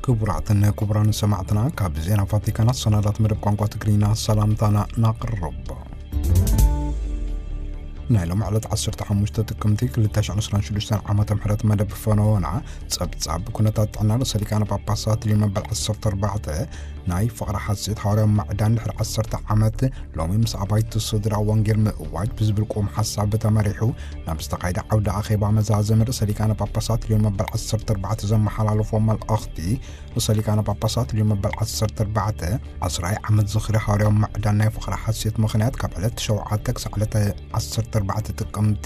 ክቡራትን ክቡራን ሰማዕትና፣ ካብ ዜና ቫቲካን ኣሰናዳት መደብ ቋንቋ ትግርኛ ሰላምታና ናቕርብ። ናይ ሎም ዕለት ዓሰርተ ሓሙሽተ ጥቅምቲ ክልተ ሽሕን ዕስራን ሽዱሽተን ዓመተ ምሕረት መደብ ፈነወና ጸብጻብ ኩነታት ጥዕና ርእሰ ሊቃነ ጳጳሳት ሊዮ መበል ዓሰርተ ኣርባዕተ ናይ ፍቕሪ ሓሴት ሃዋርያዊ ማዕዳን ድሕሪ ዓሰርተ ዓመት ሎሚ ምስ ኣባይቲ ስድራ ወንጌል ምእዋጅ ብዝብል ቁም ሓሳብ ተመሪሑ ናብ ዝተኻየደ ዓውደ ኣኼባ መዛዘሚ ርእሰ ሊቃነ ጳጳሳት ሊዮ መበል ዓሰርተ ኣርባዕተ ዘመሓላለፎ መልእኽቲ፣ ርእሰ ሊቃነ ጳጳሳት ሊዮ መበል ዓሰርተ ኣርባዕተ ዓስራይ ዓመት ዝኽሪ ሃዋርያዊ ማዕዳን ናይ ፍቕሪ ሓሴት ምኽንያት ካብ ዕለት ሸውዓተ ክሳዕ ዕለት ዓሰርተ ኣርባዕተ ጥቅምቲ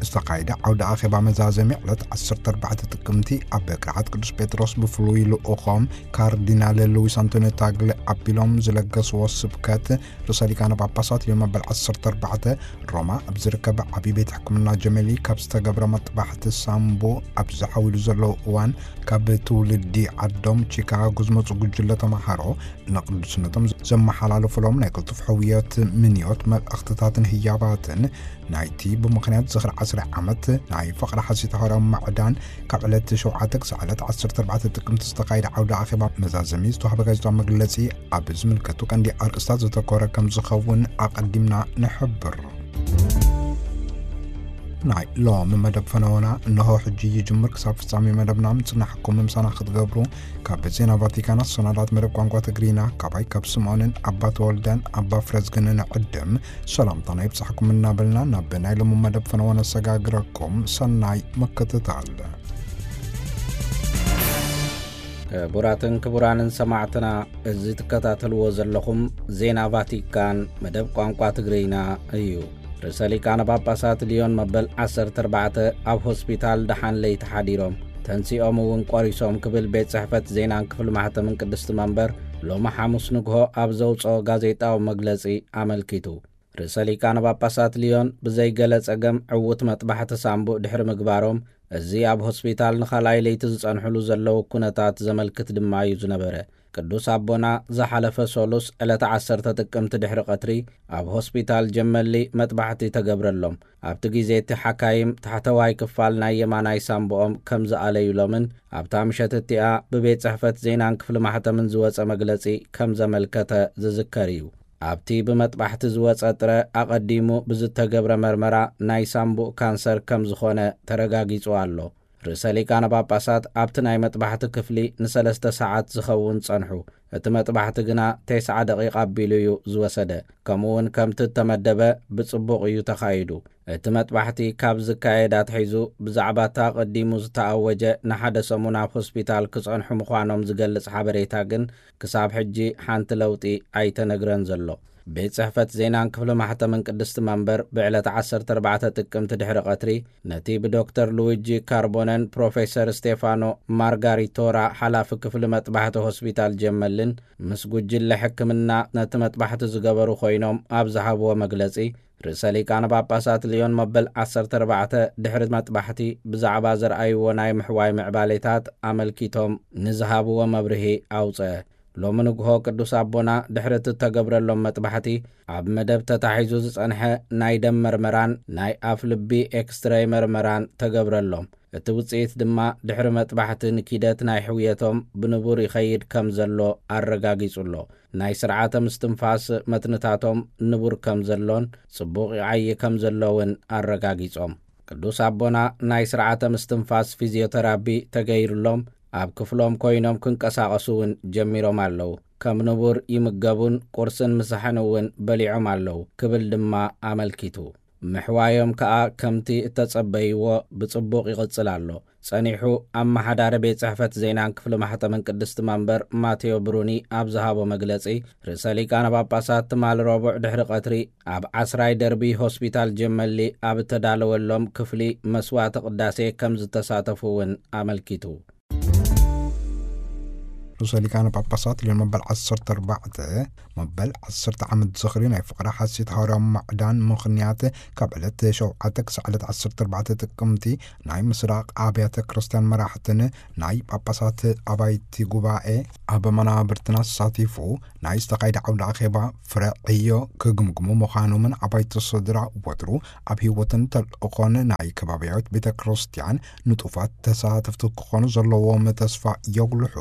ዝተኻየደ ዓውደ ኣኼባ መዛዘሚ ዕለት ዓሰርተ ኣርባዕተ ጥቅምቲ ኣብ ቅርዓት ቅዱስ ጴጥሮስ ብፍሉይ ልኡኾም ካርዲናል ሉዊስ ኣንቶኒዮ ታግሊ ኣቢሎም ዝለገስዎ ስብከት ርእሰ ሊቃነ ጳጳሳት ሊዮ መበል ዓሰርተ ኣርባዕተ ሮማ ኣብ ዝርከብ ዓብዪ ቤት ሕክምና ጀመሊ ካብ ዝተገብረ መጥባሕቲ ሳምቡ ኣብ ዝሓዊሉ ዘለዉ እዋን ካብ ትውልዲ ዓዶም ቺካጎ ዝመፁ ጉጅለ ተምሃሮ ንቅዱስነቶም ዘመሓላለፉሎም ናይ ቅልጡፍ ሕውየት ምንዮት መልእኽትታትን ህያባትን ናይቲ ብምኽንያት ዝኽሪ ዓስራይ ዓመት ናይ ፍቕሪ ሓሴት ሃዋርያዊ ማዕዳን ካብ ዕለት ሸውዓተ ክሳዕ ዕለት ዓሰርተ ኣርባዕተ ጥቅምቲ ዝተኻየደ ዓውደ ኣኼባ መዛዘሚ ዝተዋህበ ጋዜጣዊ መግለጺ ኣብ ዝምልከቱ ቀንዲ ኣርእስታት ዘተኮረ ከም ዝኸውን ኣቐዲምና ንሕብር። ናይ ሎም መደብ ፈነወና እንሆ ሕጂ ይጅምር። ክሳብ ፍጻሜ መደብና ምጽናሕኩም ምሳና ክትገብሩ ካብ ዜና ቫቲካን ኣሰናዳት መደብ ቋንቋ ትግርኛ ካባይ ካብ ስምዖንን ኣባ ተወልደን ኣባ ፍረዝግንን ዕድም ሰላምታና ይብጻሕኩም እናበልና ናብ ናይ ሎም መደብ ፈነወ ነሰጋግረኩም። ሰናይ ምክትታል። ክቡራትን ክቡራንን ሰማዕትና፣ እዚ ትከታተልዎ ዘለኹም ዜና ቫቲካን መደብ ቋንቋ ትግርኛ እዩ። ርእሰ ሊቃነ ጳጳሳት ሊዮን መበል ዓሰርተ ኣርባዕተ ኣብ ሆስፒታል ደሓን ለይቲ ሓዲሮም፣ ተንሲኦም እውን ቆሪሶም ክብል ቤት ጽሕፈት ዜናን ክፍሊ ማሕተምን ቅድስቲ መንበር ሎሚ ሓሙስ ንግሆ ኣብ ዘውጽኦ ጋዜጣዊ መግለጺ ኣመልኪቱ። ርእሰ ሊቃነ ጳጳሳት ሊዮን ብዘይገለ ጸገም ዕዉት መጥባሕቲ ሳምቡእ ድሕሪ ምግባሮም፣ እዚ ኣብ ሆስፒታል ንኻልኣይ ለይቲ ዝጸንሕሉ ዘለዉ ኩነታት ዘመልክት ድማ እዩ ዝነበረ። ቅዱስ ኣቦና ዝሓለፈ ሶሉስ ዕለተ ዓሰርተ ጥቅምቲ ድሕሪ ቀትሪ ኣብ ሆስፒታል ጀመሊ መጥባሕቲ ተገብረሎም። ኣብቲ ግዜ እቲ ሓካይም ታሕተዋይ ክፋል ናይ የማናይ ሳምቡኦም ከም ዝኣለዩሎምን ኣብታ ምሸት እቲኣ ብቤት ጽሕፈት ዜናን ክፍሊ ማሕተምን ዝወጸ መግለጺ ከም ዘመልከተ ዝዝከር እዩ። ኣብቲ ብመጥባሕቲ ዝወጸ ጥረ ኣቐዲሙ ብዝተገብረ መርመራ ናይ ሳምቡእ ካንሰር ከም ዝኾነ ተረጋጊጹ ኣሎ። ርእሰ ሊቃነ ጳጳሳት ኣብቲ ናይ መጥባሕቲ ክፍሊ ንሰለስተ ሰዓት ዝኸውን ጸንሑ። እቲ መጥባሕቲ ግና ተስዓ ደቂቕ ኣቢሉ እዩ ዝወሰደ። ከምኡ እውን ከምቲ እተመደበ ብጽቡቕ እዩ ተኻይዱ። እቲ መጥባሕቲ ካብ ዝካየድ ኣትሒዙ ብዛዕባ እታ ኣቐዲሙ ዝተኣወጀ ንሓደ ሰሙን ኣብ ሆስፒታል ክጸንሑ ምዃኖም ዝገልጽ ሓበሬታ ግን ክሳብ ሕጂ ሓንቲ ለውጢ ኣይተነግረን ዘሎ። ቤት ጽሕፈት ዜናን ክፍሊ ማሕተምን ቅድስቲ መንበር ብዕለት ዓሰርተ ኣርባዕተ ጥቅምቲ ድሕሪ ቀትሪ ነቲ ብዶክተር ሉዊጂ ካርቦነን ፕሮፌሰር ስቴፋኖ ማርጋሪቶራ ሓላፊ ክፍሊ መጥባሕቲ ሆስፒታል ጀመልን ምስ ጉጅለ ሕክምና ነቲ መጥባሕቲ ዝገበሩ ኮይኖም ኣብ ዝሃብዎ መግለጺ፣ ርእሰ ሊቃነ ጳጳሳት ሊዮን መበል ዓሰርተ ኣርባዕተ ድሕሪ መጥባሕቲ ብዛዕባ ዘርኣይዎ ናይ ምሕዋይ ምዕባሌታት ኣመልኪቶም ንዝሃብዎ መብርሂ ኣውጽአ። ሎሚ ንግሆ ቅዱስ ኣቦና ድሕሪ እቲ እተገብረሎም መጥባሕቲ ኣብ መደብ ተታሒዙ ዝጸንሐ ናይ ደም መርመራን ናይ ኣፍ ልቢ ኤክስትራይ መርመራን ተገብረሎም። እቲ ውጽኢት ድማ ድሕሪ መጥባሕቲ ንኪደት ናይ ሕውየቶም ብንቡር ይኸይድ ከም ዘሎ ኣረጋጊጹ ኣሎ። ናይ ስርዓተ ምስትንፋስ መትንታቶም ንቡር ከም ዘሎን ጽቡቕ ይዓዪ ከም ዘሎ እውን ኣረጋጊጾም። ቅዱስ ኣቦና ናይ ስርዓተ ምስትንፋስ ፊዚዮተራፒ ተገይሩሎም ኣብ ክፍሎም ኮይኖም ክንቀሳቐሱ እውን ጀሚሮም ኣለዉ። ከም ንቡር ይምገቡን ቁርስን ምሳሕን እውን በሊዖም ኣለዉ ክብል ድማ ኣመልኪቱ። ምሕዋዮም ከኣ ከምቲ እተጸበይዎ ብጽቡቕ ይቕጽል ኣሎ። ጸኒሑ ኣመሓዳሪ ቤት ጽሕፈት ዜናን ክፍሊ ማሕተምን ቅድስቲ መንበር ማቴዎ ብሩኒ ኣብ ዝሃቦ መግለጺ፣ ርእሰ ሊቃነ ጳጳሳት ትማሊ ረቡዕ ድሕሪ ቀትሪ ኣብ ዓስራይ ደርቢ ሆስፒታል ጀመሊ ኣብ እተዳለወሎም ክፍሊ መስዋዕተ ቅዳሴ ከም ዝተሳተፉ እውን ኣመልኪቱ። ርእሰ ሊቃነ ጳጳሳት ሊዮን መበል ዓሰርተ ኣርባዕተ፣ መበል ዓሰርተ ዓመት ዝኽሪ ናይ ፍቕሪ ሓሴት ሃዋርያዊ ማዕዳን ምኽንያት፣ ካብ ዕለት ሸውዓተ ክሳዕ ዕለት ዓሰርተ ኣርባዕተ ጥቅምቲ፣ ናይ ምስራቕ ኣብያተ ክርስቲያን መራሕትን ናይ ጳጳሳት ኣባይቲ ጉባኤ ኣብ መናብርትና ተሳቲፉ ናይ ዝተኻየደ ዓውደ ኣኼባ ፍረ ዕዮ ክግምግሙ ምዃኖምን ኣባይቲ ስድራ ወትሩ ኣብ ህይወትን ተልእኾን ናይ ከባብያዊት ቤተ ክርስቲያን ንጡፋት ተሳተፍቲ ክኾኑ ዘለዎም ተስፋ የጉልሑ።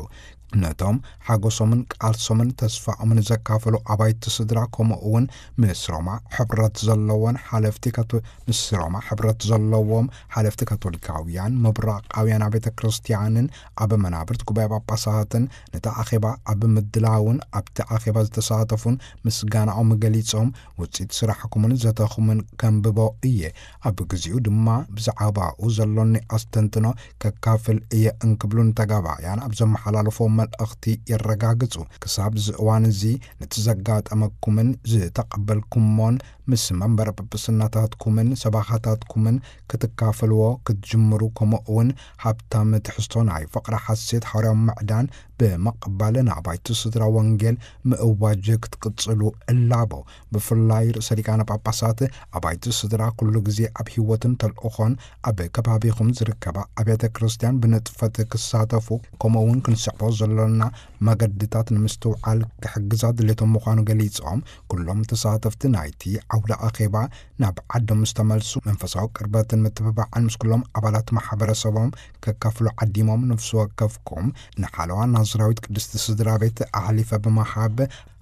ነቶም ሓጎሶምን ቃልሶምን ተስፋኦምን ዘካፈሉ ኣባይቲ ስድራ፣ ከምኡ እውን ምስ ሮማ ሕብረት ዘለዎን ሓለፍቲ ካቶ-፣ ምስ ሮማ ሕብረት ዘለዎም ሓለፍቲ ካቶሊካውያን፣ ምብራቓውያን ቤተ ክርስቲያንን ኣብ መናብርት ጉባኤ ጳጳሳትን፣ ነቲ ኣኼባ ኣብ ምድላውን ኣብቲ ኣኼባ ዝተሳተፉን ምስጋናኦም ገሊጾም፣ ውጽኢት ስራሕኩምን ዘተኹምን ከንብቦ እየ፣ ኣብ ግዚኡ ድማ ብዛዕባኡ ዘሎኒ ኣስተንትኖ ከካፍል እየ እንክብሉ ንተጋባእያን ኣብ ዘመሓላለፎ መልእኽቲ የረጋግጹ። ክሳብ እዚ እዋን እዚ ነቲ ዘጋጠመኩምን ዝተቐበልኩሞን ምስ መንበረ ጵጵስናታትኩምን ሰባኻታትኩምን ክትካፈልዎ ክትጅምሩ፣ ከምኡ እውን ሃብታም ትሕዝቶ ናይ ፍቕሪ ሓሴት ሓዋርያዊ ምዕዳን ብምቕባል ንኣባይቲ ስድራ ወንጌል ምእዋጅ ክትቅጽሉ እላቦ። ብፍላይ ርእሰ ሊቃነ ጳጳሳት ኣባይቲ ስድራ ኩሉ ግዜ ኣብ ህይወትን ተልእኾን ኣብ ከባቢኹም ዝርከባ ኣብያተ ክርስቲያን ብንጥፈት ክሳተፉ፣ ከምኡ እውን ክንስዕቦ ዘሎና መገድታት ንምስትውዓል ክሕግዛ ድሌቶም ምዃኑ ገሊጾም፣ ኩሎም ተሳተፍቲ ናይቲ ዓውደ ኣኼባ ናብ ዓዶም ምስ ተመልሱ መንፈሳዊ ቅርበትን ምትብባዕን ምስ ኩሎም ኣባላት ማሕበረሰቦም ከካፍሉ ዓዲሞም፣ ነፍሲ ወከፍኩም ንሓለዋ ናዝራዊት ቅድስቲ ስድራ ቤት ኣሕሊፈ ብምሃብ፣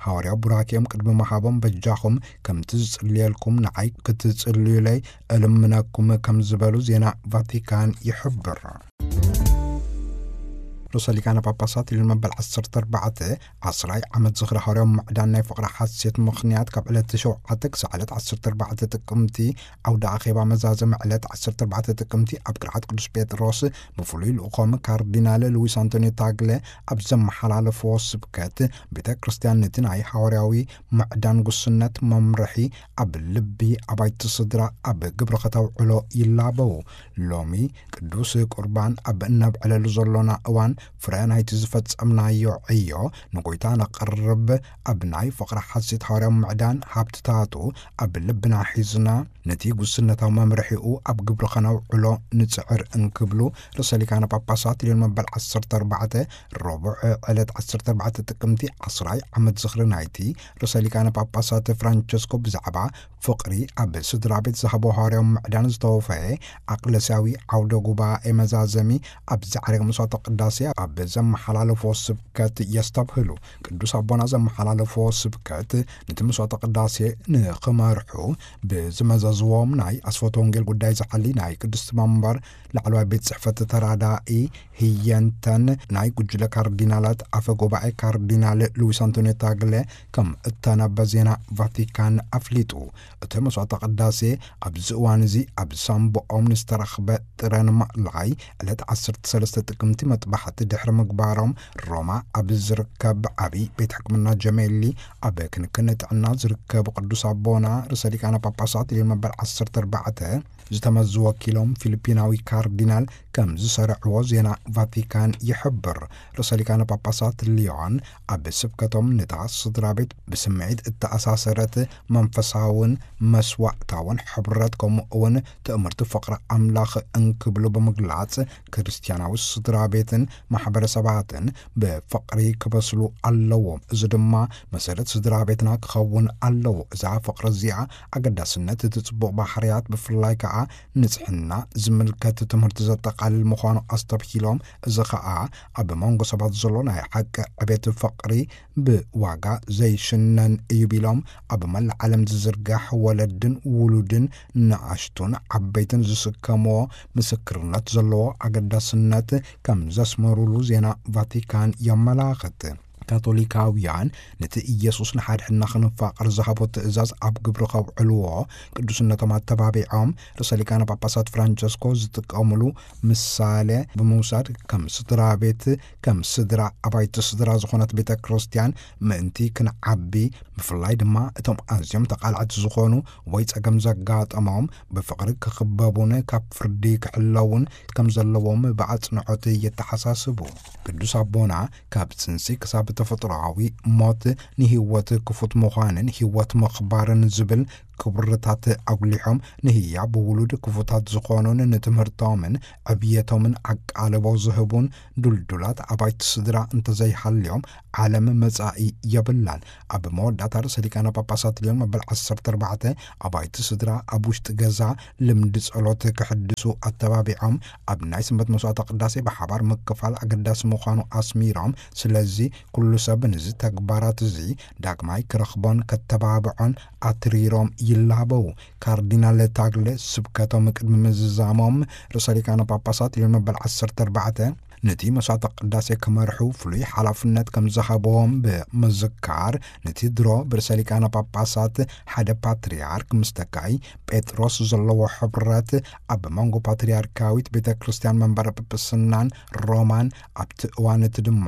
ሃዋርያዊ ቡራኬኦም ቅድሚ ምሃቦም፣ በጃኹም ከምቲ ዝጽልየልኩም ንዓይ ክትጽልዩለይ እልምነኩም ከም ዝበሉ ዜና ቫቲካን ይሕብር። ርእሰ ሊቃነ ጳጳሳት ሊዮን መበል ዓሰርተ ኣርባዕተ፣ ዓስራይ ዓመት ዝኽሪ ሃዋርያዊ ምዕዳን ናይ ፍቕሪ ሓሴት ምኽንያት፣ ካብ ዕለት ሸውዓተ ክሳዕ ዕለት ዓሰርተ ኣርባዕተ ጥቅምቲ፣ ዓውደ ኣኼባ መዛዘሚ ዕለት ዓሰርተ ኣርባዕተ ጥቅምቲ ኣብ ቅርዓት ቅዱስ ጴጥሮስ ብፍሉይ ልኡኾም ካርዲናል ሉዊስ ኣንቶኒዮ ታግለ ኣብ ዘመሓላለፍዎ ስብከት፣ ቤተ ክርስቲያን ነቲ ናይ ሃዋርያዊ ምዕዳን ጉስነት መምርሒ ኣብ ልቢ ኣባይቲ ስድራ ኣብ ግብሪ ከተውዕሎ ይላበው። ሎሚ ቅዱስ ቁርባን ኣብ እነብዕለሉ ዘሎና እዋን፣ ፍረ ናይቲ ዝፈጸምናዮ ዕዮ ንጎይታ ነቕርብ፣ ኣብ ናይ ፍቕሪ ሓሴት ሃዋርያዊ ምዕዳን ሃብትታቱ ኣብ ልብና ሒዝና፣ ነቲ ጉስነታዊ መምርሒኡ ኣብ ግብሪ ኸነውዕሎ ንጽዕር እንክብሉ፣ ርእሰ ሊቃነ ጳጳሳት ሊዮን መበል ዓሰርተ ኣርባዕተ፣ ረቡዕ ዕለት ዓሰርተ ኣርባዕተ ጥቅምቲ፣ ዓስራይ ዓመት ዝኽሪ ናይቲ ርእሰ ሊቃነ ጳጳሳት ፍራንቸስኮ ብዛዕባ ፍቕሪ ኣብ ስድራ ቤት ዝሃቦ ሃዋርያዊ ምዕዳን ዝተወፈየ ኣቅለስያዊ ዓውደ ጉባኤ መዛዘሚ፣ ኣብ ዛዕረገ መስዋዕተ ቅዳሴ ኣብ ዘመሓላለፎ ስብከት የስተብህሉ። ቅዱስ ኣቦና ዘመሓላለፎ ስብከት፣ ነቲ መስዋዕተ ቅዳሴ ንኽመርሑ ብዝመዘዝዎም ናይ ኣስፈቶ ወንጌል ጉዳይ ዝሓሊ ናይ ቅድስቲ መንበር ላዕለዋይ ቤት ጽሕፈት ተራዳኢ ህየንተን ናይ ጉጅለ ካርዲናላት ኣፈ ጉባኤ ካርዲናል ሉዊስ ኣንቶኒዮ ታግለ ከም እተነበ ዜና ቫቲካን ኣፍሊጡ። እቲ መስዋዕተ ቅዳሴ ኣብዚ እዋን እዚ ኣብ ሳምቦኦም ንዝተረኽበ ጥረ ንምእላይ፣ ዕለት ዓሰርተ ሰለስተ ጥቅምቲ መጥባሕቲ ድሕሪ ምግባሮም፣ ሮማ ኣብ ዝርከብ ዓቢ ቤት ሕክምና ጀሜሊ ኣብ ክንክን ጥዕና ዝርከቡ ቅዱስ ኣቦና ርእሰ ሊቃነ ጳጳሳት ሊዮን መበል ዓሰርተ ኣርባዕተ ዝተመዙ ወኪሎም ፊሊፒናዊ ካርዲናል ከም ዝሰርዕዎ ዜና ቫቲካን ይሕብር። ርእሰ ሊቃነ ጳጳሳት ሊዮን ኣብ ስብከቶም፣ ነታ ስድራ ቤት ብስምዒት እተኣሳሰረት መንፈሳውን መስዋዕታውን ሕብረት፣ ከምኡ እውን ትእምርቲ ፍቕሪ ኣምላኽ እንክብሉ ብምግላጽ፣ ክርስትያናዊ ስድራ ቤትን ማሕበረሰባትን ብፍቕሪ ክበስሉ ኣለዎም። እዚ ድማ መሰረት ስድራ ቤትና ክኸውን ኣለዎ። እዛ ፍቕሪ እዚኣ፣ ኣገዳስነት እቲ ጽቡቕ ባህርያት፣ ብፍላይ ከኣ ንጽሕና ዝምልከት ትምህርቲ ዘጠቓልል ምዃኑ ኣስተብሂሎም፣ እዚ ኸኣ ኣብ መንጎ ሰባት ዘሎ ናይ ሓቂ ዕቤት ፍቕሪ ብዋጋ ዘይሽነን እዩ ቢሎም፣ ኣብ መላእ ዓለም ዝዝርጋሕ ወለድን ውሉድን ንኣሽቱን ዓበይትን ዝስከምዎ ምስክርነት ዘለዎ ኣገዳስነት ከም ዘስመሩሉ ዜና ቫቲካን የመላኽት። ካቶሊካውያን ነቲ ኢየሱስ ንሓድሕድና ክንፋቐር ዝሃቦ ትእዛዝ ኣብ ግብሪ ከውዕልዎ ቅዱስነቶም ኣተባቢዖም፣ ርእሰ ሊቃነ ጳጳሳት ፍራንቸስኮ ዝጥቀምሉ ምሳሌ ብምውሳድ፣ ከም ስድራ ቤት፣ ከም ስድራ ኣባይቲ ስድራ ዝኾነት ቤተ ክርስቲያን ምእንቲ ክንዓቢ፣ ብፍላይ ድማ እቶም ኣዝዮም ተቓላዕቲ ዝኾኑ ወይ ጸገም ዘጋጠሞም ብፍቕሪ ክኽበቡን ካብ ፍርዲ ክሕለውን ከም ዘለዎም ብኣጽንዖት የተሓሳስቡ። ቅዱስ ኣቦና ካብ ጽንሲ ክሳብ ተፈጥሮኣዊ ሞት ንህይወት ክፉት ምዃንን ህይወት ምኽባርን ዝብል ክብርታት ኣጉሊሖም፣ ንህያብ ውሉድ ክፉታት ዝኾኑን ንትምህርቶምን ዕብየቶምን ኣቃልቦ ዝህቡን ድልዱላት ኣባይቲ ስድራ እንተዘይሃልዮም ዓለም መጻኢ የብላን። ኣብ መወዳእታ ርእሰ ሊቃነ ጳጳሳት ሊዮን መበል ዓሰርተ ኣርባዕተ ኣባይቲ ስድራ ኣብ ውሽጢ ገዛ ልምዲ ጸሎት ክሕድሱ ኣተባቢዖም፣ ኣብ ናይ ሰንበት መስዋዕተ ቅዳሴ ብሓባር ምክፋል ኣገዳሲ ምዃኑ ኣስሚሮም፣ ስለዚ ኩሉ ሰብ ነዚ ተግባራት እዚ ዳግማይ ክረኽቦን ከተባብዖን ኣትሪሮም ይላበው። ካርዲናል ታግለ ስብከቶም ቅድሚ ምዝዛሞም ርእሰ ሊቃነ ጳጳሳት ሊዮን መበል ዓሰርተ ኣርባዕተ ነቲ መስዋዕተ ቅዳሴ ክመርሑ ፍሉይ ሓላፍነት ከም ዝሃብዎም ብምዝካር፣ ነቲ ድሮ ብርእሰ ሊቃነ ጳጳሳት ሓደ ፓትርያርክ ምስ ተካኢ ጴጥሮስ ዘለዎ ሕብረት ኣብ መንጎ ፓትርያርካዊት ቤተ ክርስቲያን መንበረ ጵጵስናን ሮማን፣ ኣብቲ እዋን እቲ ድማ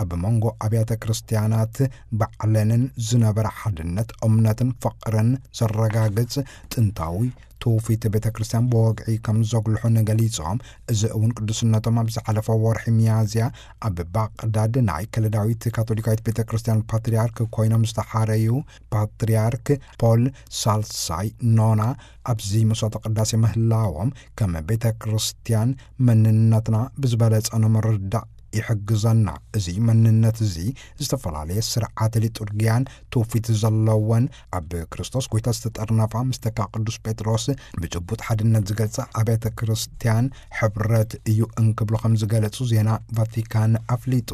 ኣብ መንጎ ኣብያተ ክርስቲያናት ባዕለንን ዝነበረ ሓድነት እምነትን ፍቕርን ዘረጋግጽ ጥንታዊ ትውፊት ቤተ ክርስቲያን ብወግዒ ከም ዘጉልሑን ገሊጾም፣ እዚ እውን ቅዱስነቶም ኣብ ዝሓለፈ ወርሒ ሚያዝያ ኣብ ባቕዳድ ናይ ከለዳዊት ካቶሊካዊት ቤተ ክርስቲያን ፓትርያርክ ኮይኖም ዝተሓረዩ ፓትርያርክ ፖል ሳልሳይ ኖና ኣብዚ መስዋዕተ ቅዳሴ ምህላዎም፣ ከም ቤተ ክርስቲያን መንነትና ብዝበለጸ ንምርዳእ ይሕግዘና። እዚ መንነት እዚ ዝተፈላለየ ስርዓተ ሊጡርጊያን ትውፊት ዘለወን፣ ኣብ ክርስቶስ ጎይታ ዝተጠርነፋ፣ ምስ ተካ ቅዱስ ጴጥሮስ ብጭቡጥ ሓድነት ዝገልጻ ኣብያተ ክርስቲያን ሕብረት እዩ እንክብሉ ከም ዝገለጹ ዜና ቫቲካን ኣፍሊጡ።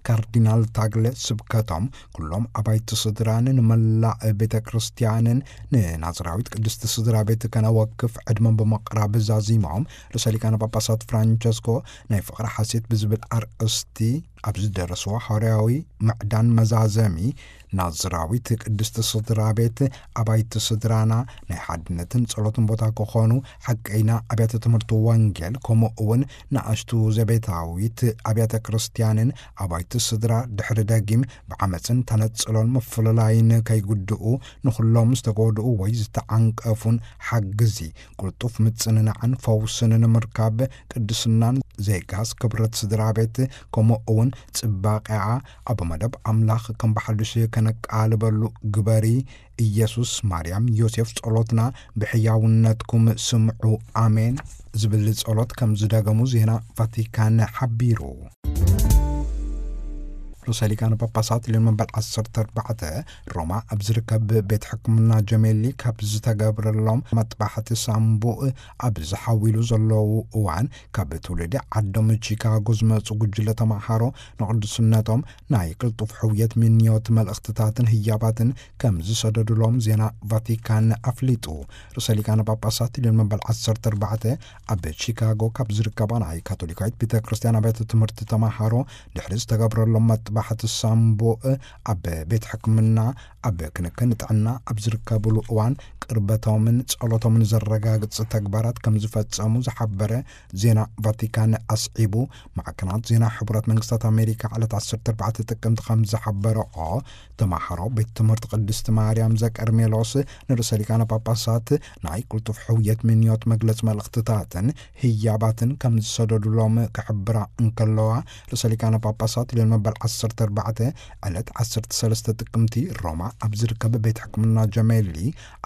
ካርዲናል ታግለ ስብከቶም፣ ኩሎም ኣባይቲ ስድራን ንመላእ ቤተ ክርስቲያንን ንናዝራዊት ቅድስቲ ስድራ ቤት ከነወክፍ ዕድመ ብምቕራብ ዛዚሞም፣ ርእሰ ሊቃነ ጳጳሳት ፍራንቸስኮ ናይ ፍቕሪ ሓሴት ብዝብል ኣርእስቲ ኣብ ዝደረስዎ ሃዋርያዊ ምዕዳን መዛዘሚ፣ ናዝራዊት ቅድስቲ ስድራ ቤት ኣባይቲ ስድራና ናይ ሓድነትን ጸሎትን ቦታ ክኾኑ፣ ሓቀይና ኣብያተ ትምህርቲ ወንጌል፣ ከምኡ እውን ንኣሽቱ ዘቤታዊት ኣብያተ ክርስቲያንን ኣባይቲ ስድራ ድሕሪ ደጊም ብዓመጽን ተነጽሎን ምፍልላይን ከይጉድኡ፣ ንኹሎም ዝተጎድኡ ወይ ዝተዓንቀፉን ሓግዚ፣ ቅልጡፍ ምጽንናዕን ፈውስን ንምርካብ፣ ቅድስናን ዜጋስ ክብረት ስድራ ቤት፣ ከምኡ እውን ጽባቐኣ ኣብ መደብ ኣምላኽ ከም ብሓድሽ ከነቃልበሉ ግበሪ። ኢየሱስ፣ ማርያም፣ ዮሴፍ፣ ጸሎትና ብሕያውነትኩም ስምዑ። ኣሜን ዝብል ጸሎት ከም ዝደገሙ ዜና ቫቲካን ሓቢሩ። ርእሰ ሊቃነ ጳጳሳት ሊዮን መበል ዓሰርተ ኣርባዕተ ሮማ ኣብ ዝርከብ ቤት ሕክምና ጀሜሊ ካብ ዝተገብረሎም መጥባሕቲ ሳምቡእ ኣብ ዝሓዊሉ ዘለዉ እዋን፣ ካብ ትውልዲ ዓዶም ቺካጎ ዝመጹ ጉጅለ ተማሃሮ ንቅዱስነቶም ናይ ቅልጡፍ ሕውየት ምንዮት መልእኽትታትን ህያባትን ከም ዝሰደዱሎም ዜና ቫቲካን ኣፍሊጡ። ርእሰ ሊቃነ ጳጳሳት ሊዮን መበል ዓሰርተ ኣርባዕተ ኣብ ቺካጎ ካብ ዝርከባ ናይ ካቶሊካዊት ቤተ ክርስቲያን ኣብያተ ትምህርቲ ተማሃሮ ድሕሪ ዝተገብረሎም መጥባሕቲ ሳምቡእ፣ ኣብ ቤት ሕክምና ኣብ ክንክን ጥዕና ኣብ ዝርከብሉ እዋን፣ ቅርበቶምን ጸሎቶምን ዘረጋግጽ ተግባራት ከም ዝፈጸሙ ዝሓበረ ዜና ቫቲካን ኣስዒቡ፣ ማዕከናት ዜና ሕቡራት መንግስታት ኣሜሪካ ዕለት ዓሰርተ ኣርባዕተ ጥቅምቲ ከም ዝሓበረኦ፣ ተማሃሮ ቤት ትምህርቲ ቅድስቲ ማርያም ዘቀርሜሎስ ንርእሰ ሊቃነ ጳጳሳት ናይ ቅልጡፍ ሕውየት ምንዮት መግለጽ መልእኽትታትን ህያባትን ከም ዝሰደዱሎም ክሕብራ እንከለዋ፣ ርእሰ ሊቃነ ጳጳሳት ሊዮን መበል ዓሰርተ ኣርባዕተ ዕለት ዓሰርተ ሰለስተ ጥቅምቲ ሮማ ኣብ ዝርከብ ቤት ሕክምና ጀሜሊ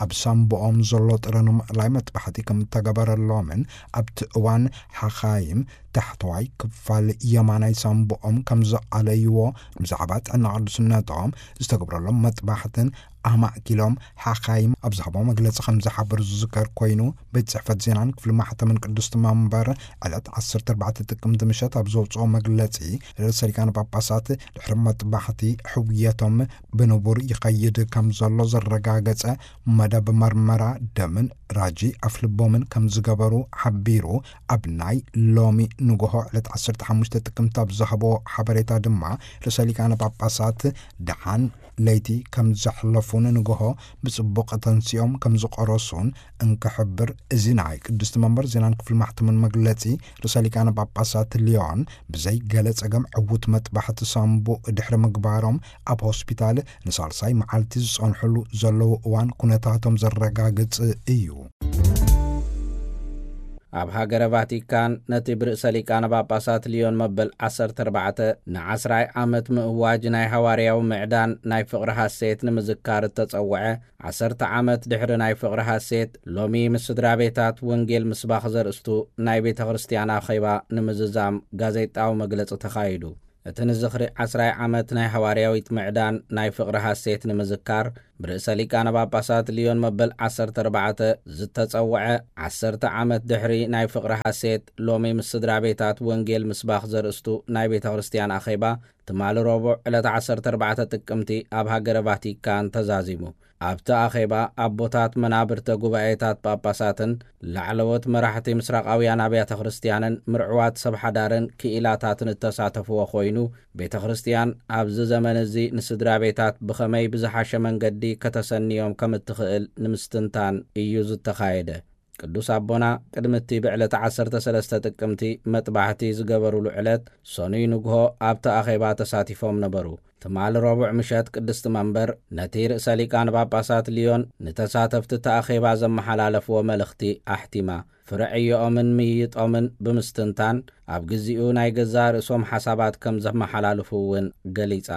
ኣብ ሳምቦኦም ዘሎ ጥረ ንምእላይ መጥባሕቲ ከም እተገበረሎምን፣ ኣብቲ እዋን ሓኻይም ታሕተዋይ ክፋል የማናይ ሳምቦኦም ከም ዝኣለይዎ ብዛዕባ ጥዕና ቅዱስነቶም ዝተገብረሎም መጥባሕትን ኣማእኪሎም ሓኻይም ኣብ ዝሃቦ መግለጺ ከም ዝሓበሩ ዝዝከር ኮይኑ፣ ቤት ጽሕፈት ዜናን ክፍሊ ማሕተምን ቅድስቲ መንበር ዕለት ዓሰርተ ኣርባዕተ ጥቅምቲ ምሸት ኣብ ዘውፅኦ መግለጺ፣ ርእሰ ሊቃነ ጳጳሳት ድሕሪ መጥባሕቲ ሕውየቶም ብንቡር ይኸይድ ከም ዘሎ ዘረጋገጸ መደብ መርመራ ደምን ራጂ ኣፍልቦምን ከም ዝገበሩ ሓቢሩ፣ ኣብ ናይ ሎሚ ንግሆ ዕለት ዓሰርተ ሓሙሽተ ጥቅምቲ ኣብ ዝሃቦ ሓበሬታ ድማ፣ ርእሰ ሊቃነ ጳጳሳት ደሓን ለይቲ ከም ዘሕለፉን ንግሆ ብጽቡቕ ተንሲኦም ከም ዝቆረሱን እንክሕብር፣ እዚ ናይ ቅድስቲ መንበር ዜናን ክፍሊ ማሕተምን መግለጺ፣ ርእሰ ሊቃነ ጳጳሳት ሊዮን ብዘይ ገለ ጸገም ዕዉት መጥባሕቲ ሳንቡእ ድሕሪ ምግባሮም፣ ኣብ ሆስፒታል ንሳልሳይ መዓልቲ ዝጸንሕሉ ዘለዉ እዋን ኩነታቶም ዘረጋግጽ እዩ። ኣብ ሃገረ ቫቲካን፣ ነቲ ብርእሰ ሊቃነ ጳጳሳት ሊዮን መበል ዓሰርተ ኣርባዕተ ንዓስራይ ዓመት ምእዋጅ ናይ ሃዋርያዊ ምዕዳን ናይ ፍቕሪ ሃሴት ንምዝካር እተጸውዐ፣ ዓሰርተ ዓመት ድሕሪ ናይ ፍቕሪ ሃሴት፣ ሎሚ ምስ ስድራ ቤታት ወንጌል ምስባኽ ዘርእስቱ ናይ ቤተ ክርስቲያን ኣኼባ ንምዝዛም ጋዜጣዊ መግለጺ ተኻይዱ። እቲ ንዝኽሪ ዓስራይ ዓመት ናይ ሃዋርያዊት ምዕዳን ናይ ፍቕሪ ሃሴት ንምዝካር፣ ብርእሰ ሊቃነ ጳጳሳት ሊዮን መበል ዓሰርተ ኣርባዕተ ዝተጸውዐ፣ ዓሰርተ ዓመት ድሕሪ ናይ ፍቕሪ ሃሴት፣ ሎሚ ምስ ስድራ ቤታት ወንጌል ምስባኽ ዘርእስቱ ናይ ቤተ ክርስቲያን ኣኼባ፣ ትማሊ ረቡዕ ዕለት ዓሰርተ ኣርባዕተ ጥቅምቲ ኣብ ሃገረ ቫቲካን ተዛዚሙ። ኣብቲ ኣኼባ፣ ኣቦታት መናብርተ ጉባኤታት ጳጳሳትን ላዕለዎት መራሕቲ ምስራቓውያን ኣብያተ ክርስቲያንን ምርዕዋት ሰብ ሓዳርን ክኢላታትን እተሳተፍዎ ኮይኑ፣ ቤተ ክርስቲያን ኣብዚ ዘመን እዚ ንስድራ ቤታት ብኸመይ ብዝሓሸ መንገዲ ከተሰንዮም ከም እትኽእል ንምስትንታን እዩ ዝተኻየደ። ቅዱስ ኣቦና ቅድሚ እቲ ብዕለተ ዓሰርተ ሰለስተ ጥቅምቲ መጥባሕቲ ዝገበሩሉ ዕለት፣ ሰኑይ ንግሆ ኣብቲ ኣኼባ ተሳቲፎም ነበሩ። ትማሊ ረቡዕ ምሸት ቅድስቲ መንበር ነቲ ርእሰ ሊቃነ ጳጳሳት ሊዮን ንተሳተፍቲ እቲ ኣኼባ ዘመሓላለፍዎ መልእኽቲ ኣሕቲማ። ፍረ ዕዮኦምን ምይይጦምን ብምስትንታን፣ ኣብ ግዚኡ ናይ ገዛእ ርእሶም ሓሳባት ከም ዘመሓላልፉ እውን ገሊጻ።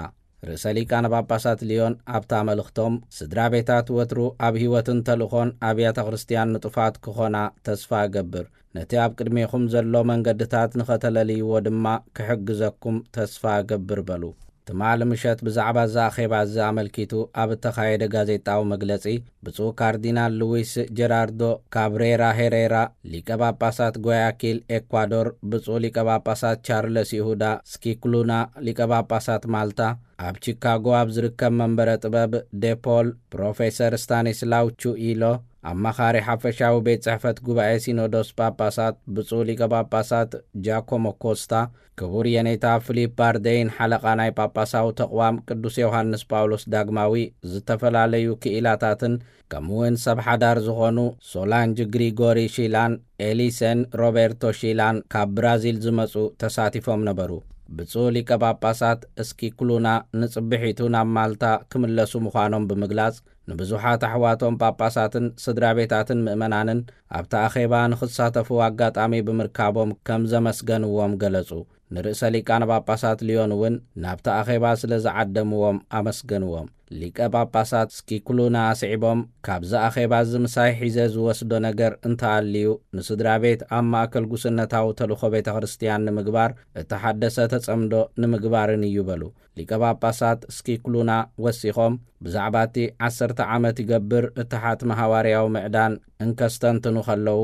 ርእሰ ሊቃነ ጳጳሳት ሊዮን ኣብታ መልእኽቶም፣ ስድራ ቤታት ወትሩ ኣብ ህይወትን ተልእኾን ኣብያተ ክርስቲያን ንጡፋት ክኾና ተስፋ እገብር። ነቲ ኣብ ቅድሜኹም ዘሎ መንገድታት ንኸተለልይዎ ድማ ክሕግዘኩም ተስፋ እገብር በሉ። ትማሊ ምሸት ብዛዕባ እዚ ኣኼባ እዚ ኣመልኪቱ ኣብ እተኻየደ ጋዜጣዊ መግለጺ፣ ብፁዕ ካርዲናል ሉዊስ ጀራርዶ ካብሬራ ሄሬራ፣ ሊቀ ጳጳሳት ጓያኪል ኤኳዶር፣ ብፁዕ ሊቀ ጳጳሳት ቻርለስ ይሁዳ ስኪክሉና፣ ሊቀ ጳጳሳት ማልታ፣ ኣብ ቺካጎ ኣብ ዝርከብ መንበረ ጥበብ ዴፖል ፕሮፌሰር ስታኒስላው ቹኢሎ፣ ኣማኻሪ ሓፈሻዊ ቤት ጽሕፈት ጉባኤ ሲኖዶስ ጳጳሳት ብፁዕ ሊቀ ጳጳሳት ጃኮሞ ኮስታ፣ ክቡር የኔታ ፊሊፕ ባርደይን ሓለቓ ናይ ጳጳሳዊ ተቕዋም ቅዱስ ዮሃንስ ጳውሎስ ዳግማዊ፣ ዝተፈላለዩ ክኢላታትን ከምኡውን ሰብ ሓዳር ዝኾኑ ሶላንጅ ግሪጎሪ ሺላን ኤሊሰን ሮቤርቶ ሺላን ካብ ብራዚል ዝመጹ ተሳቲፎም ነበሩ። ብፁዕ ሊቀ ጳጳሳት እስኪክሉና ንጽብሒቱ ናብ ማልታ ክምለሱ ምዃኖም ብምግላጽ፣ ንብዙሓት ኣሕዋቶም ጳጳሳትን ስድራ ቤታትን ምእመናንን ኣብቲ ኣኼባ ንኽሳተፉ ኣጋጣሚ ብምርካቦም ከም ዘመስገንዎም ገለጹ። ንርእሰ ሊቃነ ጳጳሳት ሊዮን እውን ናብቲ ኣኼባ ስለ ዝዓደምዎም ኣመስገንዎም። ሊቀ ጳጳሳት ስኪክሉና ኣስዒቦም፣ ካብዚ ኣኼባ እዚ ምሳይ ሒዘ ዝወስዶ ነገር እንተኣልዩ፣ ንስድራ ቤት ኣብ ማእከል ጉስነታዊ ተልእኾ ቤተ ክርስቲያን ንምግባር እተሓደሰ ተጸምዶ ንምግባርን እዩ በሉ። ሊቀ ጳጳሳት ስኪክሉና ወሲኾም፣ ብዛዕባ እቲ ዓሰርተ ዓመት ይገብር እተሓትመ ሃዋርያዊ ምዕዳን እንከስተንትኑ ከለዉ፣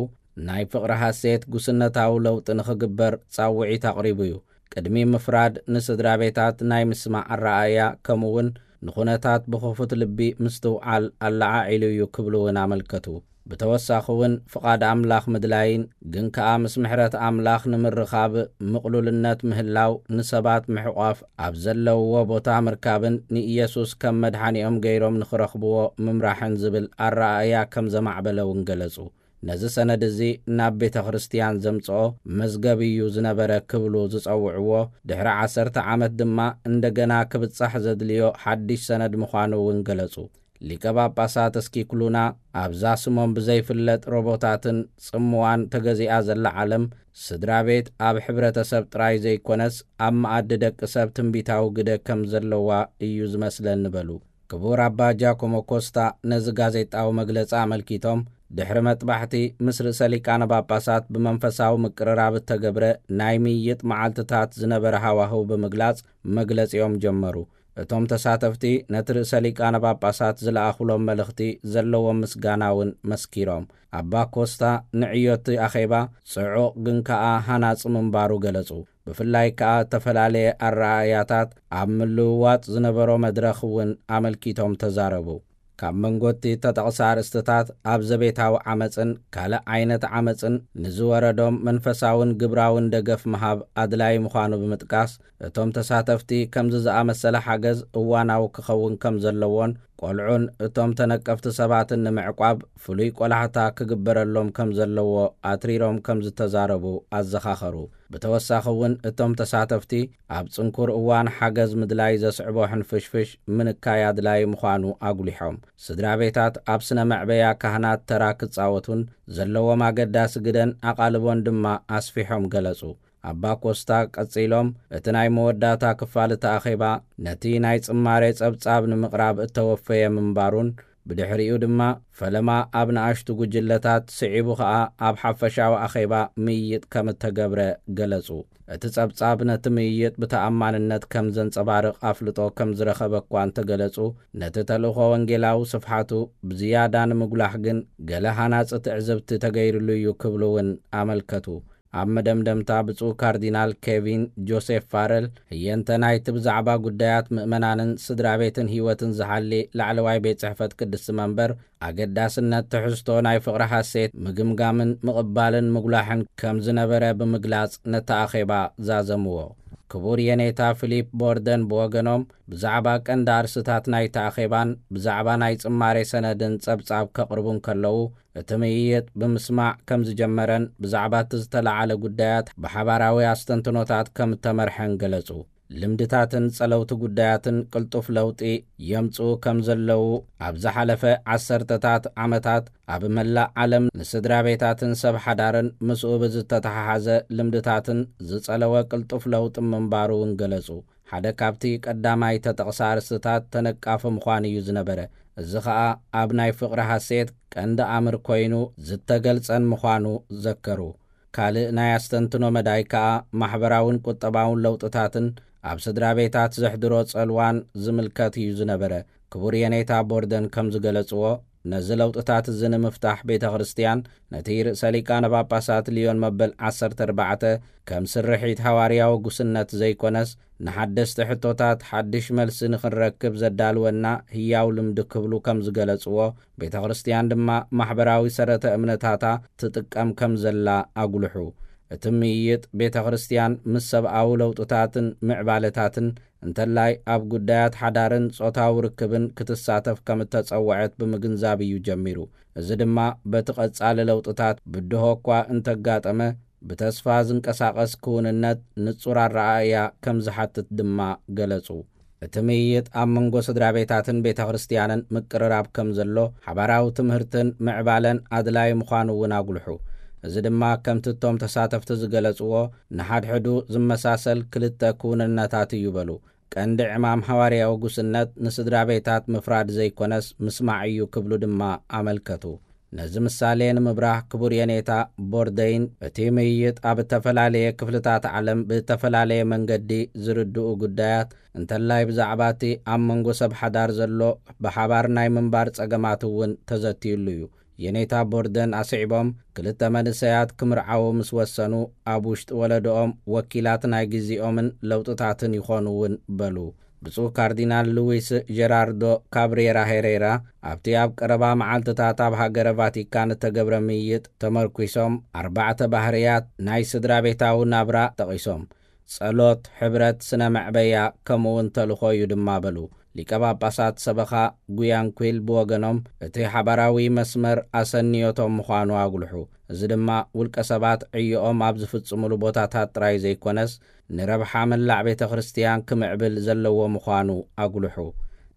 ናይ ፍቕሪ ሃሴት ጉስነታዊ ለውጢ ንኽግበር ጻውዒት ኣቕሪቡ እዩ። ቅድሚ ምፍራድ ንስድራ ቤታት ናይ ምስማዕ ኣረኣእያ፣ ከምኡውን ንኹነታት ብኽፉት ልቢ ምስትውዓል ኣለዓዒሉ እዩ ክብሉ እውን ኣመልከቱ። ብተወሳኺ እውን ፍቓድ ኣምላኽ ምድላይን ግን ከኣ ምስ ምሕረት ኣምላኽ ንምርኻብ ምቕሉልነት ምህላው ንሰባት ምሕቋፍ ኣብ ዘለውዎ ቦታ ምርካብን ንኢየሱስ ከም መድሓኒኦም ገይሮም ንኽረኽብዎ ምምራሕን ዝብል ኣረኣእያ ከም ዘማዕበለ እውን ገለጹ። ነዚ ሰነድ እዚ ናብ ቤተ ክርስቲያን ዘምጽኦ መዝገብ እዩ ዝነበረ ክብሉ ዝጸውዕዎ፣ ድሕሪ ዓሰርተ ዓመት ድማ እንደገና ክብጻሕ ዘድልዮ ሓድሽ ሰነድ ምዃኑ እውን ገለጹ። ሊቀ ጳጳሳት እስኪክሉና ኣብዛ ስሞም ብዘይፍለጥ ሮቦታትን ጽምዋን ተገዚኣ ዘላ ዓለም፣ ስድራ ቤት ኣብ ሕብረተሰብ ጥራይ ዘይኮነስ ኣብ መኣዲ ደቂ ሰብ ትንቢታዊ ግደ ከም ዘለዋ እዩ ዝመስለኒ በሉ። ክቡር ኣባ ጃኮሞ ኮስታ ነዚ ጋዜጣዊ መግለጺ ኣመልኪቶም፣ ድሕሪ መጥባሕቲ ምስ ርእሰ ሊቃነ ጳጳሳት ብመንፈሳዊ ምቅርራብ እተገብረ ናይ ምይይጥ መዓልትታት ዝነበረ ሃዋህው ብምግላጽ መግለጺኦም ጀመሩ። እቶም ተሳተፍቲ ነቲ ርእሰ ሊቃነ ጳጳሳት ዝለኣኹሎም መልእኽቲ ዘለዎም ምስጋና እውን መስኪሮም። ኣባ ኮስታ ንዕዮቲ ኣኼባ ጽዑቕ ግን ከኣ ሃናጺ ምንባሩ ገለጹ። ብፍላይ ከኣ እተፈላለየ ኣረኣእያታት ኣብ ምልውዋጥ ዝነበሮ መድረኽ እውን ኣመልኪቶም ተዛረቡ። ካብ መንጎ እቲ ተጠቕሰ ኣርእስትታት ኣብ ዘቤታዊ ዓመጽን ካልእ ዓይነት ዓመጽን ንዝወረዶም መንፈሳውን ግብራውን ደገፍ ምሃብ ኣድላዪ ምዃኑ ብምጥቃስ፣ እቶም ተሳተፍቲ ከምዚ ዝኣመሰለ ሓገዝ እዋናዊ ክኸውን ከም ዘለዎን ቆልዑን እቶም ተነቀፍቲ ሰባትን ንምዕቋብ ፍሉይ ቆላሕታ ክግበረሎም ከም ዘለዎ ኣትሪሮም ከም ዝተዛረቡ ኣዘኻኸሩ። ብተወሳኺ እውን እቶም ተሳተፍቲ ኣብ ጽንኩር እዋን ሓገዝ ምድላይ ዘስዕቦ ሕንፍሽፍሽ ምንካይ ኣድላዪ ምዃኑ ኣጉሊሖም። ስድራ ቤታት ኣብ ስነ መዕበያ ካህናት ተራ ክጻወቱን ዘለዎም ኣገዳሲ ግደን ኣቓልቦን ድማ ኣስፊሖም ገለጹ። ኣባ ኮስታ ቀጺሎም፣ እቲ ናይ መወዳእታ ክፋል እቲ ኣኼባ ነቲ ናይ ጽማሬ ጸብጻብ ንምቕራብ እተወፈየ ምንባሩን፣ ብድሕሪኡ ድማ ፈለማ ኣብ ንኣሽቱ ጉጅለታት፣ ስዒቡ ኸኣ ኣብ ሓፈሻዊ ኣኼባ ምይይጥ ከም እተገብረ ገለጹ። እቲ ጸብጻብ ነቲ ምይይጥ ብተኣማንነት ከም ዘንጸባርቕ ኣፍልጦ ከም ዝረኸበ እኳ እንተገለጹ፣ ነቲ ተልእኾ ወንጌላዊ ስፍሓቱ ብዝያዳ ንምጉላሕ ግን ገለ ሃናጺ ትዕዝብቲ ተገይሩሉ እዩ ክብሉ እውን ኣመልከቱ። ኣብ መደምደምታ ብፁዕ ካርዲናል ኬቪን ጆሴፍ ፋረል፣ ህየንተ ናይቲ ብዛዕባ ጉዳያት ምእመናንን ስድራ ቤትን ህይወትን ዝሓሊ ላዕለዋይ ቤት ጽሕፈት ቅድስቲ መንበር ኣገዳስነት ትሕዝቶ ናይ ፍቕሪ ሓሴት ምግምጋምን ምቕባልን ምጉላሕን ከም ዝነበረ ብምግላጽ ነቲ ኣኼባ ዛዘምዎ። ክቡር የኔታ ፊሊፕ ቦርደን ብወገኖም ብዛዕባ ቀንዲ ኣርስታት ናይቲ ኣኼባን ብዛዕባ ናይ ጽማሬ ሰነድን ጸብጻብ ከቕርቡ እንከለዉ፣ እቲ ምይይጥ ብምስማዕ ከም ዝጀመረን ብዛዕባ እቲ ዝተለዓለ ጉዳያት ብሓባራዊ ኣስተንትኖታት ከም እተመርሐን ገለጹ። ልምድታትን ጸለውቲ ጉዳያትን ቅልጡፍ ለውጢ የምጽኡ ከም ዘለዉ፣ ኣብ ዝሓለፈ ዓሰርተታት ዓመታት ኣብ መላእ ዓለም ንስድራ ቤታትን ሰብ ሓዳርን ምስኡ ብዝተተሓሓዘ ልምድታትን ዝጸለወ ቅልጡፍ ለውጢ ምንባሩ እውን ገለጹ። ሓደ ካብቲ ቀዳማይ ተጠቕሰ ኣርእስትታት ተነቃፊ ምዃን እዩ ዝነበረ። እዚ ኸኣ ኣብ ናይ ፍቕሪ ሃሴት ቀንዲ ኣምር ኮይኑ ዝተገልጸን ምዃኑ ዘከሩ። ካልእ ናይ ኣስተንትኖ መዳይ ከኣ ማሕበራውን ቁጠባውን ለውጥታትን ኣብ ስድራ ቤታት ዘሕድሮ ጸልዋን ዝምልከት እዩ ዝነበረ። ክቡር የኔታ ቦርደን ከም ዝገለጽዎ፣ ነዚ ለውጥታት እዚ ንምፍታሕ ቤተ ክርስትያን ነቲ ርእሰ ሊቃነ ጳጳሳት ልዮን መበል ዓሰርተ ኣርባዕተ ከም ስርሒት ሃዋርያዊ ጉስነት ዘይኮነስ፣ ንሓደስቲ ሕቶታት ሓድሽ መልሲ ንኽንረክብ ዘዳልወና ህያው ልምዲ ክብሉ ከም ዝገለጽዎ፣ ቤተ ክርስትያን ድማ ማሕበራዊ ሰረተ እምነታታ ትጥቀም ከም ዘላ ኣጉልሑ። እቲ ምይይጥ ቤተ ክርስትያን ምስ ሰብኣዊ ለውጥታትን ምዕባለታትን እንተላይ ኣብ ጉዳያት ሓዳርን ጾታዊ ርክብን ክትሳተፍ ከም እተጸውዐት ብምግንዛብ እዩ ጀሚሩ። እዚ ድማ በቲ ቀጻሊ ለውጥታት ብድሆ እኳ እንተጋጠመ፣ ብተስፋ ዝንቀሳቐስ ክውንነት ንጹር ኣረኣእያ ከም ዝሓትት ድማ ገለጹ። እቲ ምይይጥ ኣብ መንጎ ስድራ ቤታትን ቤተ ክርስትያንን ምቅርራብ ከም ዘሎ፣ ሓባራዊ ትምህርትን ምዕባለን ኣድላዪ ምዃኑ እውን ኣጉልሑ። እዚ ድማ ከምቲ እቶም ተሳተፍቲ ዝገለጽዎ፣ ንሓድሕዱ ዝመሳሰል ክልተ ክውንነታት እዩ በሉ። ቀንዲ ዕማም ሃዋርያዊ ጉስነት ንስድራ ቤታት ምፍራድ ዘይኮነስ ምስማዕ እዩ ክብሉ ድማ ኣመልከቱ። ነዚ ምሳሌ ንምብራህ ክቡር የኔታ ቦርደይን፣ እቲ ምይይጥ ኣብ እተፈላለየ ክፍልታት ዓለም ብእተፈላለየ መንገዲ ዝርድኡ ጉዳያት፣ እንተላይ ብዛዕባ እቲ ኣብ መንጎ ሰብ ሓዳር ዘሎ ብሓባር ናይ ምንባር ጸገማት እውን ተዘትዩሉ እዩ። የኔታ ቦርደን ኣስዒቦም፣ ክልተ መንእሰያት ክምርዓዉ ምስ ወሰኑ፣ ኣብ ውሽጢ ወለዶኦም ወኪላት ናይ ግዜኦምን ለውጥታትን ይኾኑ እውን በሉ። ብፁዕ ካርዲናል ሉዊስ ጀራርዶ ካብሬራ ሄሬራ ኣብቲ ኣብ ቀረባ መዓልትታት ኣብ ሃገረ ቫቲካን እተገብረ ምይይጥ ተመርኲሶም፣ ኣርባዕተ ባህርያት ናይ ስድራ ቤታዊ ናብራ ጠቒሶም። ጸሎት፣ ሕብረት፣ ስነ መዕበያ፣ ከምኡውን ተልእኾ እዩ ድማ በሉ። ሊቀ ጳጳሳት ሰበኻ ጉያንኩል ብወገኖም፣ እቲ ሓባራዊ መስመር ኣሰንዮቶም ምዃኑ ኣጉልሑ። እዚ ድማ ውልቀ ሰባት ዕዮኦም ኣብ ዝፍጽሙሉ ቦታታት ጥራይ ዘይኮነስ፣ ንረብሓ መላእ ቤተ ክርስትያን ክምዕብል ዘለዎ ምዃኑ ኣጉልሑ።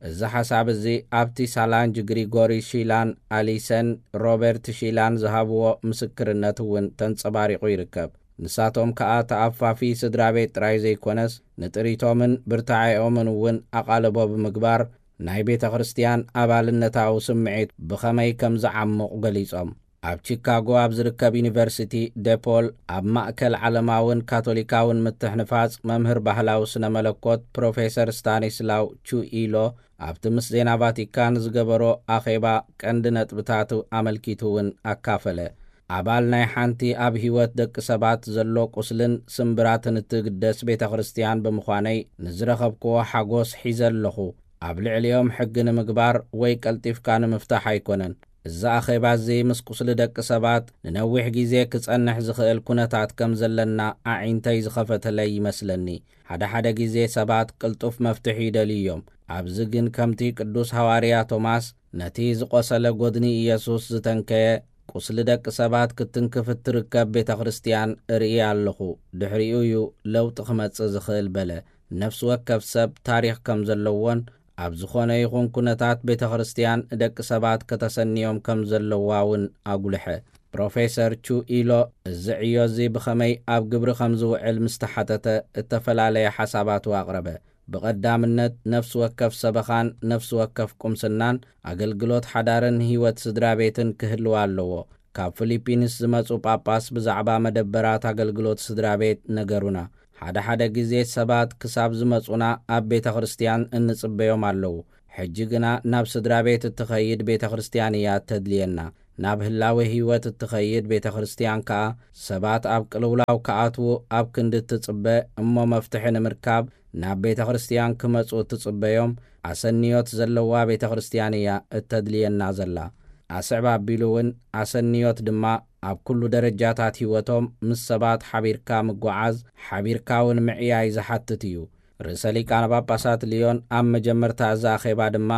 እዚ ሓሳብ እዚ ኣብቲ ሳላንጅ ግሪጎሪ ሺላን ኣሊሰን ሮበርት ሺላን ዝሃብዎ ምስክርነት እውን ተንጸባሪቑ ይርከብ። ንሳቶም ከኣ ተኣፋፊ ስድራ ቤት ጥራይ ዘይኮነስ፣ ንጥሪቶምን ብርታዔኦምን እውን ኣቓልቦ ብምግባር፣ ናይ ቤተ ክርስትያን ኣባልነታዊ ስምዒት ብኸመይ ከም ዝዓሙቕ ገሊጾም። ኣብ ቺካጎ ኣብ ዝርከብ ዩኒቨርሲቲ ደፖል ኣብ ማእከል ዓለማውን ካቶሊካውን ምትሕንፋጽ መምህር ባህላዊ ስነ መለኮት ፕሮፌሰር ስታኒስላው ቹኢሎ ኣብቲ ምስ ዜና ቫቲካን ዝገበሮ ኣኼባ ቀንዲ ነጥብታቱ ኣመልኪቱ እውን ኣካፈለ። ኣባል ናይ ሓንቲ ኣብ ህይወት ደቂ ሰባት ዘሎ ቁስልን ስምብራትን እትግደስ ቤተ ክርስቲያን ብምዃነይ ንዝረኸብክዎ ሓጎስ ሒዘ ኣለኹ። ኣብ ልዕሊኦም ሕጊ ንምግባር ወይ ቀልጢፍካ ንምፍታሕ ኣይኮነን። እዚ ኣኼባ እዚ ምስ ቁስሊ ደቂ ሰባት ንነዊሕ ግዜ ክጸንሕ ዝኽእል ኩነታት ከም ዘለና ኣዒንተይ ዝኸፈተለይ ይመስለኒ። ሓደ ሓደ ግዜ ሰባት ቅልጡፍ መፍትሒ ይደልዩ እዮም። ኣብዚ ግን ከምቲ ቅዱስ ሃዋርያ ቶማስ ነቲ ዝቆሰለ ጎድኒ ኢየሱስ ዝተንከየ ቁስሊ ደቂ ሰባት ክትትንክፍ እትርከብ ቤተ ክርስቲያን እርኢ ኣለኹ። ድሕሪኡ እዩ ለውጢ ክመጽእ ዝኽእል በለ። ነፍሲ ወከፍ ሰብ ታሪኽ ከም ዘለዎን ኣብ ዝኾነ ይኹን ኩነታት ቤተ ክርስቲያን ደቂ ሰባት ከተሰንዮም ከም ዘለዋ እውን ኣጉልሐ። ፕሮፌሰር ቹ ኢሎ እዚ ዕዮ እዚ ብኸመይ ኣብ ግብሪ ከም ዝውዕል ምስ ተሓተተ እተፈላለየ ሓሳባቱ ኣቕረበ። ብቐዳምነት ነፍሲ ወከፍ ሰበኻን ነፍሲ ወከፍ ቁምስናን ኣገልግሎት ሓዳርን ህይወት ስድራ ቤትን ክህልዋ ኣለዎ። ካብ ፊሊፒንስ ዝመጹ ጳጳስ ብዛዕባ መደበራት ኣገልግሎት ስድራ ቤት ነገሩና። ሓደ ሓደ ግዜ ሰባት ክሳብ ዝመጹና ኣብ ቤተ ክርስቲያን እንጽበዮም ኣለዉ። ሕጂ ግና ናብ ስድራ ቤት እትኸይድ ቤተ ክርስቲያን እያ እተድልየና። ናብ ህላዌ ህይወት እትኸይድ ቤተ ክርስቲያን ከኣ ሰባት ኣብ ቅልውላው ክኣትዉ ኣብ ክንዲ እትጽበ እሞ መፍትሒ ንምርካብ ናብ ቤተ ክርስቲያን ክመጹ እትጽበዮም ኣሰንዮት ዘለዋ ቤተ ክርስቲያን እያ እተድልየና ዘላ። ኣስዕብ ኣቢሉ እውን ኣሰንዮት ድማ ኣብ ኩሉ ደረጃታት ህይወቶም ምስ ሰባት ሓቢርካ ምጓዓዝ፣ ሓቢርካ እውን ምዕያይ ዝሓትት እዩ። ርእሰ ሊቃነ ጳጳሳት ሊዮን ኣብ መጀመርታ እዚ ኣኼባ ድማ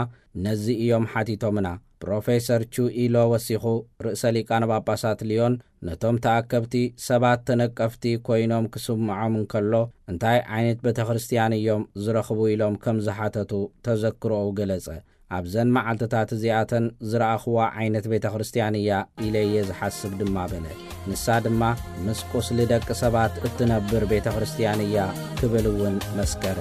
ነዚ እዮም ሓቲቶምና። ፕሮፌሰር ቹ ኢሎ ወሲኹ ርእሰ ሊቃነ ጳጳሳት ሊዮን ነቶም ተኣከብቲ ሰባት ተነቀፍቲ ኮይኖም ክስምዖም እንከሎ እንታይ ዓይነት ቤተ ክርስቲያን እዮም ዝረኽቡ ኢሎም ከም ዝሓተቱ ተዘክሮኡ ገለጸ። ኣብዘን መዓልትታት እዚኣተን ዝረኣኽዋ ዓይነት ቤተ ክርስቲያን እያ ኢለ እየ ዝሓስብ ድማ በለ። ንሳ ድማ ምስ ቁስሊ ደቂ ሰባት እትነብር ቤተ ክርስቲያን እያ ክብል እውን መስከረ።